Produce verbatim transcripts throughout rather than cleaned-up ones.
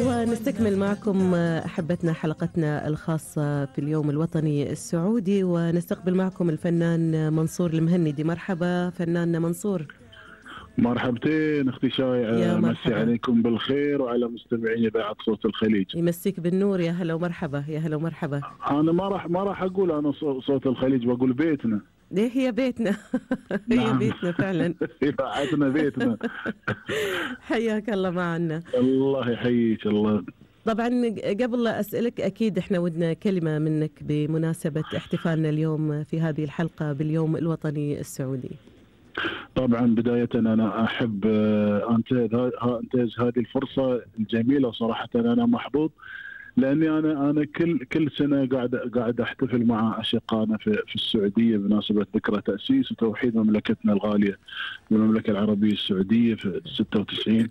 ونستكمل معكم أحبتنا حلقتنا الخاصة في اليوم الوطني السعودي، ونستقبل معكم الفنان منصور المهندي. مرحبا فنان منصور. مرحبتين اختي شايعة، مسي عليكم بالخير وعلى مستمعين اذاعة صوت الخليج. يمسيك بالنور، يا هلا ومرحبا. يا هلا ومرحبا. انا ما راح ما راح اقول انا صوت الخليج، بقول بيتنا. ليه؟ هي بيتنا. هي نعم. بيتنا فعلا. اذاعتنا بيتنا. حياك الله معنا. الله يحييك. الله. طبعا قبل لا أسألك، أكيد إحنا ودنا كلمة منك بمناسبة احتفالنا اليوم في هذه الحلقة باليوم الوطني السعودي. طبعا بداية أنا أحب أنتهز هذه الفرصة الجميلة. صراحة أنا محظوظ لأني أنا أنا كل كل سنة قاعد قاعد أحتفل مع أشقائنا في في السعودية بمناسبة ذكرى تأسيس وتوحيد مملكتنا الغالية المملكة العربية السعودية في ستة وتسعين.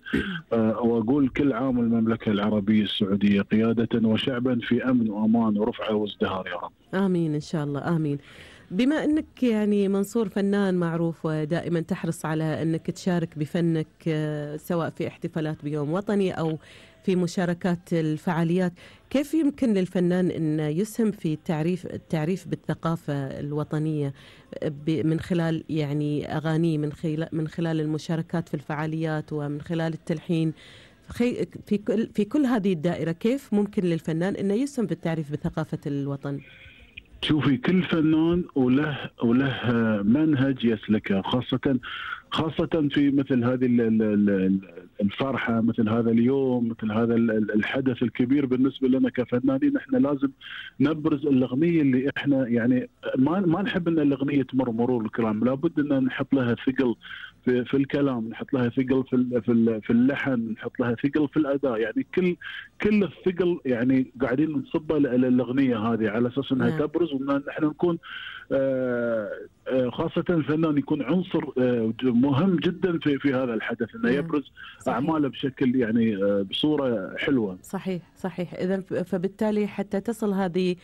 وأقول كل عام المملكة العربية السعودية قيادة وشعبا في أمن وأمان ورفعة وازدهار يا رب. آمين إن شاء الله. آمين. بما أنك يعني منصور فنان معروف ودائما تحرص على أنك تشارك بفنك سواء في احتفالات بيوم وطني أو في مشاركات الفعاليات، كيف يمكن للفنان أن يسهم في التعريف التعريف بالثقافة الوطنية من خلال يعني أغاني، من خلال من خلال المشاركات في الفعاليات ومن خلال التلحين في كل في كل هذه الدائرة؟ كيف ممكن للفنان أنه يسهم في التعريف بثقافة الوطن؟ شوفي، كل فنان وله وله منهج يسلكه، خاصة خاصة في مثل هذه الفرحة، مثل هذا اليوم، مثل هذا الحدث الكبير بالنسبة لنا كفنانين. احنا لازم نبرز الأغنية اللي احنا يعني ما ما نحب ان الأغنية تمر مرور الكرام، لابد ان نحط لها ثقل في, في الكلام، نحط لها ثقل في في في اللحن، نحط لها ثقل في الأداء. يعني كل كل الثقل يعني قاعدين نصبها للأغنية هذه على أساس انها نعم. تبرز، وان احنا نكون آه خاصة الفنان يكون عنصر مهم جدا في في هذا الحدث، انه يبرز صحيح. اعماله بشكل يعني بصورة حلوة. صحيح صحيح. اذا فبالتالي حتى تصل هذه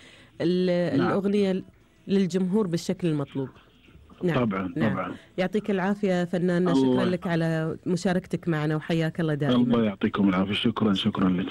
الاغنية نعم. للجمهور بالشكل المطلوب. نعم. طبعا نعم. طبعا. يعطيك العافية فنان، شكرا لك على مشاركتك معنا وحياك الله دائما. الله يعطيكم العافية. شكرا شكرا لك.